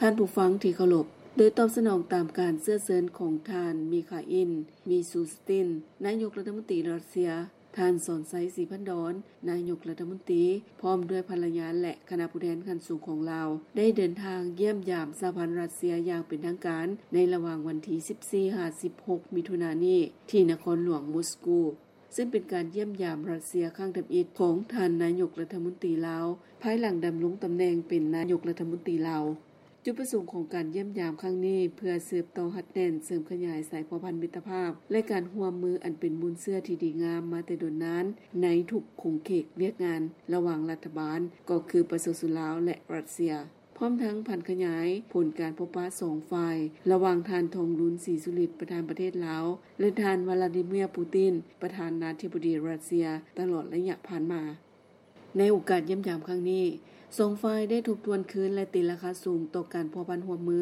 ທ່ານຜູ້ຟັງທີ່ເຄົາລົບ, ໂດຍຕອບສະໜອງຕາມການເຊື້ອເຊີນຂອງທ່ານ ມີຄາອິນ ມີຊູສຕິນ ນາຍົກລັດຖະມົນຕີຣັດເຊຍ, ທ່ານ ສອນໄຊ ສີພັນດອນ ນາຍົກລັດຖະມົນຕີ ພ້ອມດ້ວຍພັນລະຍາ ແລະ ຄະນະຜູ້ແທນຂັ້ນສູງຂອງລາວ ໄດ້ເດີນທາງຢ້ຽມຢາມສະຫະພັນຣັດເຊຍຢ່າງເປັນທາງການ ໃນລະຫວ່າງວັນທີສິບສີ່ຫາສິບຫົກ ມິຖຸນານີ້ ທີ່ນະຄອນຫຼວງມົສກູ, ຊຶ່ງເປັນການຢ້ຽມຢາມຣັດເຊຍຄັ້ງທຳອິດຂອງທ່ານນາຍົກລັດຖະມົນຕີລາວ ພາຍຫຼັງດຳລົງຕຳແໜ່ງເປັນນາຍົກລັດຖະມົນຕີລາວ. ຈຸດປະສົງຂອງການຢ້ຽມຢາມຄັ້ງນີ້ ເພື່ອສືບຕໍ່ຮັດແໜ້ນເສີມຂະຫຍາຍສາຍພົວພັນມິດຕະພາບ ແລະ ການຮ່ວມມືອັນເປັນມູນເຊື້ອທີ່ດີງາມມາແຕ່ດົນນານໃນທຸກຂົງເຂດວຽກງານລະຫວ່າງລັດຖະບານ ກໍຄືປະຊາຊົນລາວ ແລະ ຣັດເຊຍ, ພ້ອມທັງຜັນຂະຫຍາຍຜົນການພົບປະສອງຝ່າຍ ລະຫວ່າງທ່ານ ທອງລຸນ ສີສຸລິດ ປະທານປະເທດລາວ ແລະ ທ່ານ ວລາດີເມຍ ປູຕິນ ປະທານາທິບໍດີຣັດເຊຍ ຕະຫຼອດໄລຍະຜ່ານມາ. ໃນໂອກາດຢ້ຽມຢາມຄັ້ງນີ້, ສອງຝ່າຍໄດ້ທົບທວນຄືນ ແລະ ຕີລາຄາສູງຕໍ່ການພົວພັນຮ່ວມມື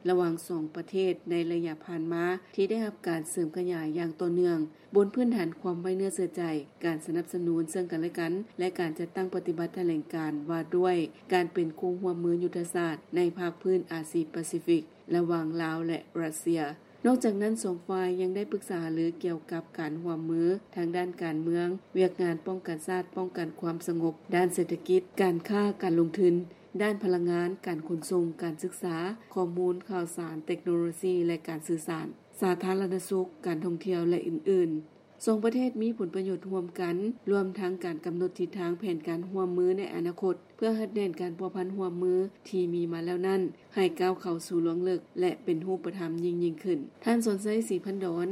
ລະຫວ່າງສອງປະເທດໃນໄລຍະຜ່ານມາ ທີ່ໄດ້ຮັບການເສີມຂະຫຍາຍຢ່າງຕໍ່ເນື່ອງ ບົນພື້ນຖານຄວາມໄວ້ເນື້ອເຊື່ອໃຈ, ການສະໜັບສະໜູນເຊິ່ງກັນແລະກັນ ແລະ ການຈັດຕັ້ງປະຕິບັດຖະແຫຼງການວ່າດ້ວຍການເປັນຄູ່ຮ່ວມມືຍຸດທະສາດໃນພາກພື້ນອາຊີປາຊີຟິກ ລະຫວ່າງລາວ ແລະ ຣັດເຊຍ. ນອກຈາກນັ້ນ, ສອງຝ່າຍຍັງໄດ້ປຶກສາຫາລືກ່ຽວກັບການຮ່ວມມືທາງດ້ານການເມືອງ, ວຽກງານປ້ອງກັນຊາດ, ປ້ອງກັນຄວາມສະຫງົບ, ດ້ານເສດຖະກິດ, ການຄ້າ, ການລົງທຶນ, ດ້ານພະລັງງານ, ການຂົນສົ່ງ, ການສຶກສາ, ຂໍ້ມູນຂ່າວສານ, ເຕັກໂນໂລຊີ ແລະ ການສື່ສານ, ສາທາລະນະສຸກ, ການທ່ອງທ່ຽວ ແລະ ອື່ນໆ. ສອງປະເທດມີຜົນປະໂຫຍດຮ່ວມກັນ, ລວມທັງການກຳນົດທິດທາງແຜນການຮ່ວມມືໃນອະນາຄົດ ເພື່ອຮັດແໜ້ນການພົວພັນຮ່ວມມືທີ່ມີມາແລ້ວນັ້ນ ໃຫ້ກ້າວເຂົ້າສູ່ລວງເລິກ ແລະ ເປັນຮູບປະທຳຍິ່ງໆຂຶ້ນ. ທ່ານ ສອນໄຊ ສີພັນດອນ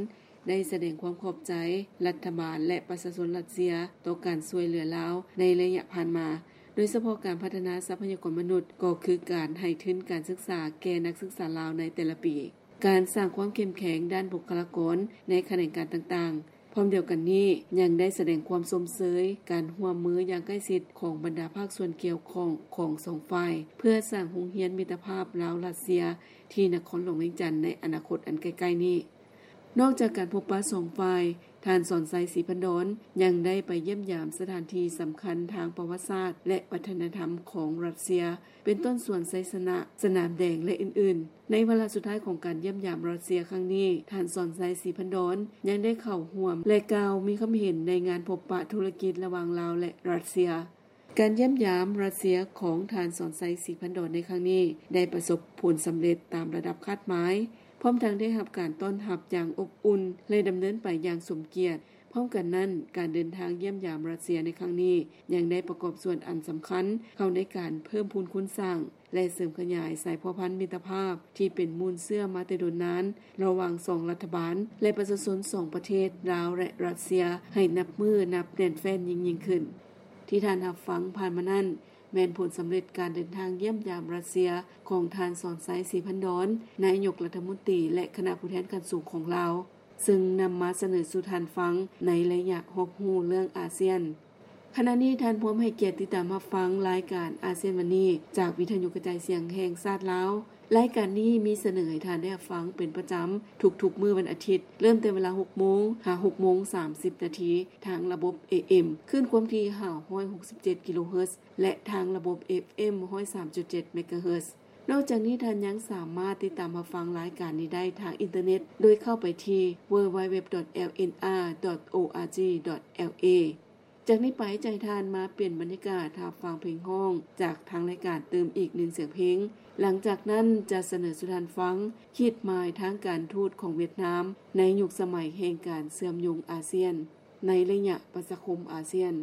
ໄດ້ສະແດງຄວາມຂອບໃຈລັດຖະບານ ແລະ ປະຊາຊົນຣັດເຊຍຕໍ່ການຊ່ວຍເຫຼືອລາວໃນໄລຍະຜ່ານມາ, ໂດຍສະເພາະການພັດທະນາຊັບພະຍາກອນມະນຸດ, ກໍຄືການໃຫ້ທຶນການສຶກສາແກ່ນັກສຶກສາລາວໃນແຕ່ລະປີ. ການສ້າງຄວາມເຂັ້ມແຂງດ້ານບຸກຄະລາກອນໃນຂະແໜງການຕ່າງໆ. ພ້ອມດຽວກັນນີ້, ຍັງໄດ້ສະແດງຄວາມຊົມເຊີຍການຮ່ວມມືຢ່າງໃກ້ຊິດຂອງບັນດາພາກສ່ວນກ່ຽວຂ້ອງຂອງສອງຝ່າຍ ເພື່ອສ້າງໂຮງຮຽນມິດຕະພາບລາວ-ຣັດເຊຍ ທີ່ນະຄອນຫຼວງວຽງຈັນໃນອະນາຄົດອັນໃກ້ໆນີ້. ນອກຈາກການພົບປະສອງຝ່າຍ, ທ່ານ ສອນໄຊ ສີພັນດອນ ຍັງໄດ້ໄປຢ້ຽມຢາມສະຖານທີ່ສຳຄັນທາງປະຫວັດສາດ ແລະ ວັດທະນະທຳຂອງຣັດເຊຍ, ເປັນຕົ້ນສວນໄຊຊະນະ, ສະໜາມແດງ ແລະ ອື່ນໆ. ໃນວາລະສຸດທ້າຍຂອງການຢ້ຽມຢາມຣັດເຊຍຄັ້ງນີ້, ທ່ານ ສອນໄຊ ສີພັນດອນ ຍັງໄດ້ເຂົ້າຮ່ວມ ແລະ ກ່າວມີຄຳເຫັນໃນງານພົບປະທຸລະກິດລະຫວ່າງລາວ ແລະ ຣັດເຊຍ. ການຢ້ຽມຢາມຣັດເຊຍຂອງທ່ານ ສອນໄຊ ສີພັນດອນ ໃນຄັ້ງນີ້ ໄດ້ປະສົບຜົນສຳເລັດຕາມລະດັບຄາດໝາຍ, ພ້ອມທັງໄດ້ຮັບການຕ້ອນຮັບຢ່າງອົບອຸ່ນ ແລະ ດຳເນີນໄປຢ່າງສົມກຽດ. ພ້ອມກັນນັ້ນ, ການເດີນທາງຢ້ຽມຢາມຣັດເຊຍໃນຄັ້ງນີ້ ຍັງໄດ້ປະກອບສ່ວນອັນສຳຄັນເຂົ້າໃນການເພີ່ມພູນຄູນສ້າງ ແລະ ເສີມຂະຫຍາຍສາຍພົວພັນມິດຕະພາບທີ່ເປັນມູນເຊື້ອມາແຕ່ດົນນານ ລະຫວ່າງສອງລັດຖະບານ ແລະ ປະຊາຊົນສອງປະເທດ ລາວ ແລະ ຣັດເຊຍ ໃຫ້ນັບມື້ນັບແໜ້ນແຟ້ນຍິ່ງໆຂຶ້ນ. ທີ່ທ່ານຮັບຟັງຜ່ານມານັ້ນ ແມ່ນຜົນສຳເລັດການເດີນທາງຢ້ຽມຢາມຣັດເຊຍຂອງທ່ານ ສອນໄຊ ສີພັນດອນ ນາຍົກລັດຖະມົນຕີ ແລະ ຄະນະຜູ້ແທນຂັ້ນສູງຂອງລາວ, ຊຶ່ງນຳມາສະເໜີສູ່ທ່ານຟັງໃນໄລຍະຮອບຮູ້ເລື່ອງອາຊຽນ. ຂະນະນີ້ທ່ານພ້ອມໃຫ້ກຽດຕິດຕາມຮັບຟັງລາຍການອາຊຽນວັນນີ້ ຈາກວິທະຍຸກະຈາຍສຽງແຫ່ງຊາດລາວ. ລາຍການນີ້ມີສະເໜີໃຫ້ທ່ານໄດ້ຮັບຟັງເປັນປະຈຳທຸກໆມື້ວັນອາທິດ, ເລີ່ມແຕ່ເວລາຫົກໂມງຫາຫົກໂມງສາມສິບນາທີ ທາງລະບົບ ເອເອັມ ຄື້ນຄວາມຖີ່ຫ້າຮ້ອຍຫົກສິບເຈັດກິໂລເຮີດ ແລະ ທາງລະບົບ ເອຟເອັມ ຮ້ອຍສາມຈຸດເຈັດເມກາເຮີດ. ນອກຈາກນີ້, ທ່ານຍັງສາມາດຕິດຕາມຮັບຟັງລາຍການນີ້ໄດ້ທາງອິນເຕີເນັດ ໂດຍເຂົ້າໄປທີ່ www.lnr.org.la. ຈາກນີ້ໄປ, ຈະໃຫ້ທ່ານມາປ່ຽນບັນຍາກາດຮັບຟັງເພງຮ້ອງຈາກທາງລາຍການຕື່ມອີກໜຶ່ງສຽງເພງ. ຫຼັງຈາກນັ້ນ, ຈະສະເໜີສູ່ທ່ານຟັງ ຂີດໝາຍທາງການທູດຂອງຫວຽດນາມ ໃນຍຸກສະໄໝແຫ່ງການເຊື່ອມໂຍງອາຊຽນ ໃນໄລຍະປະຊາຄົມອາຊຽນ.